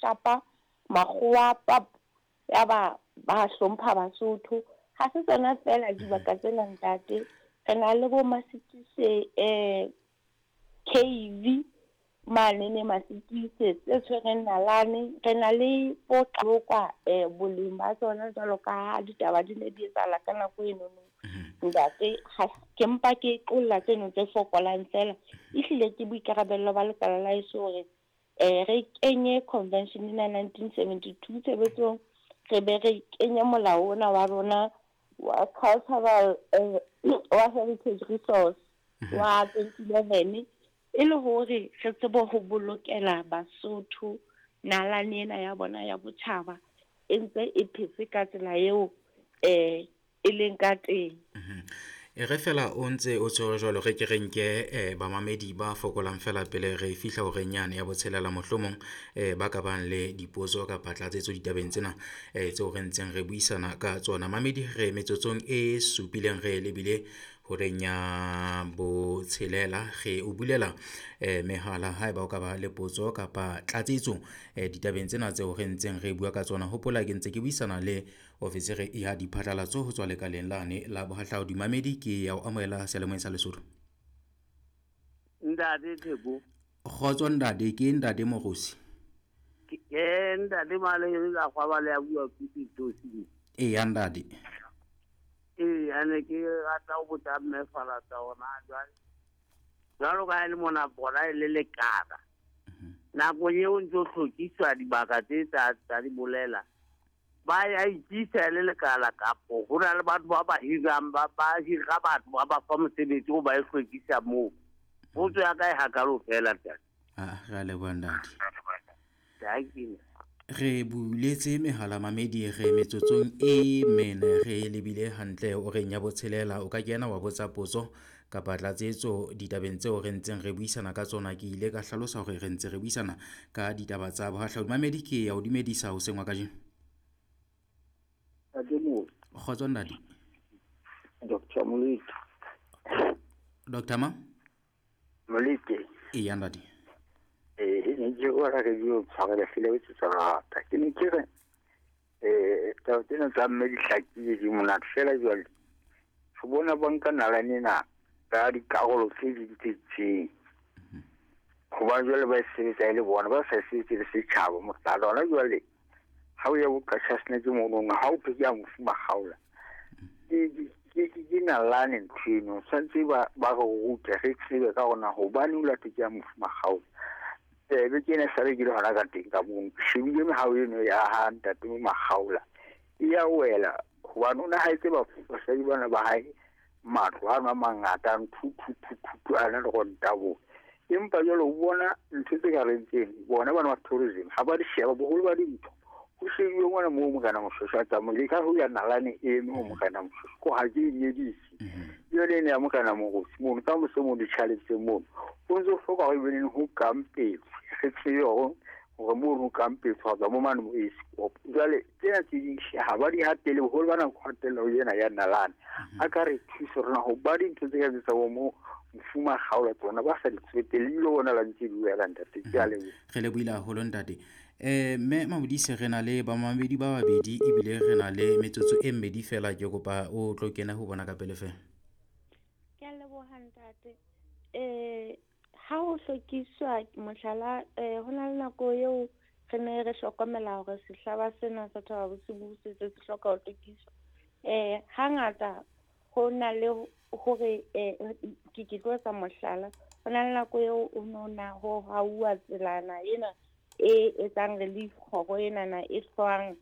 shapa makgowa pap, ya ba ba hlompha Basotho. Ha se tsona feela dibaka tsena ntate, re na le bo Masitise cave mane Masitise tse tshwereng nalane. Re na le bo Qalokwa boleng ba tsona jwalo ka ha ditaba di ne di etsahala ka nako enono. Ntate, ke mpa ke qolla tseno tse fokolang fela. Ehlile ke boikarabello ba lekala la heso hore re kenye convention ena 1972 tshebetsong, re be re kenye molao ona wa rona wa cultural wa heritage resource wa 2011, e le hore re tsebe ho bolokela Basotho nalane ena ya bona ya botjhaba e ntse e phetse ka tsela eo e leng ka teng. E re fela o ntse o tshwere jwalo, re ke re nke bamamedi ba fokolang fela pele re fihla horeng yane ya botshelela, mohlomong ba ka bang le dipotso kapa tlatsetso ditabeng tsena tseo re ntseng re buisana ka tsona. Mamedi, re metsotsong e supileng re lebile horeng ya botshelela, re o bulela mehala haeba o ka ba le potso kapa tlatsetso ditabeng tsena tseo re ntseng re bua ka tsona. Hopola ke ntse ke buisana le ofisiri ya diphatlalatso ho tswa lekaleng lane la bohahlaudi. Mamedi, ke ya o amohela seyalemoyeng sa Lesotho. Ntate Theko. Kgotso ntate, ke ntate Morosi. Ke ntate Male ka kwaba le ya bua ke Pitosi. Eya ntate. Ee, ane ke rata ho botsa mme Falatsa hona jwale. Jwalo ka ha e le mona bona e le lekala. Nakong eo ntso hlwekiswa dibaka tse tsa di bolela, ba ya ikisa le lekala kapo ho na le batho ba ba hirang, ba hira batho ba ba fa mosebetsi o ba e hlwekisa moo. Potso ya ka e hakalo fela ntate. Ah, re a leboha ntate. Thank you. Re buletse mehala mamedi, re metsotsong e mene re lebile hantle horeng ya botshelela. O ka kena wa botsa potso kapa tlatsetso ditabeng tseo re ntseng re buisana ka tsona. Ke ile ka hlalosa hore re ntse re buisana ka ditaba tsa bohahlaudi. Mamedi, ke ya o dumedisa hoseng wa kajeno. Kgotso ntate. Dr. Molete. Dr. Ma? Molete. Eya ntate. E ne ke ora re dio tshwarela fela o tsa rata. Ke ne ke re taba tsena tsa mme di hlakile di monate fela jwale. Re bona ba nka nalane ena ka dikarolo tse ding tse itseng. Hobane jwale ba e sebetsa e le bona, ba sa e sebetse le setjhaba. Mohlala hona jwale ha o ya bo Qacha's Nek mono, ha o thwe ke ya mofu Makgaola. Ke nalane ntho eno. Tshwanetse ba re rute, re tsebe ka hore na hobane o latwe ke ya mofu Makgaola. Be ke ena sale ke le hona ka teng ka mono. Ke shebile mehao eno ya ha ntate Makgaola. E ya wela hobane o ne haetse basadi bana ba hae matlo ano a mangata, nthu, thu, thu, thu, thu, a na le ronta bo. Empa jwale o bona ntho tse ka reng tseno, bona bana ba tourism ha ba di sheba boholo ba dintho. Ho shebuwe ngwana moo Morena Moshoeshoe a tsamaile, ka ho ya nalane e eme ho Morena Moshoeshoe, ko ha ke e nyedise. Jwale ene ya Morena Morosi mono, ka mose moo ditjhaletse mono, ho ntso hloka hore ebe neng ho kampetswe, re tsebe hore mono ho kampetswe, ho tswa mo mane mo Ace. Jwale tsena tse ding ha ba di hatele, boholo ba nako hatella ho ena ya nalane. A ka re thuse rona ho ba dintho tse ka tsa bo mo mofu Makgaola tsona ba sa di tsotelle, ebile bona la ntse di wela ntate. Ke a leboha. Re lebohile haholo ntate. Mme Mamodise, re na le bamamedi ba babedi ebile re na le metsotso e mmedi fela, ke kopa o tlo kena ho bona ka pele fela. Ke a leboha ntate. Ha ho hlwekiswa mohlala, ho na le nako eo re ne re hlokomela hore sehlaba sena sa Thaba Bosiu se se hloka ho hlwekiswa. Hangata ho na le hore ke tlo etsa mohlala, ho na le nako eo o no na ho hauwa tselana ena e etsang relief kgoro enana e hlwang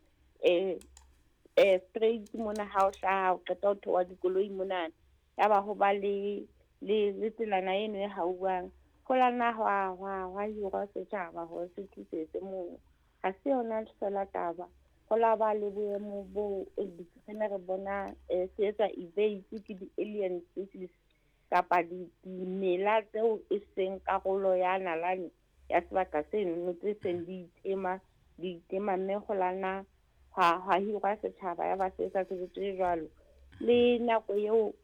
straight mona ha o hlaha o qeta ho theoha dikoloi monana, ya ba ho ba le tselana eno e hauwang. Ho la nna hwa hirwa setjhaba hore se thusetse moo. Ha se yona fela taba, ho la ba le boemo bo re ne re bona se etsa evade ke di-alien species kapa dimela tseo e seng karolo ya nalane ya sebaka seno, tse seng di itema, di itema, mme ho la nna hwa hirwa setjhaba ya ba se etsa tshebetso e jwalo. Le nako eo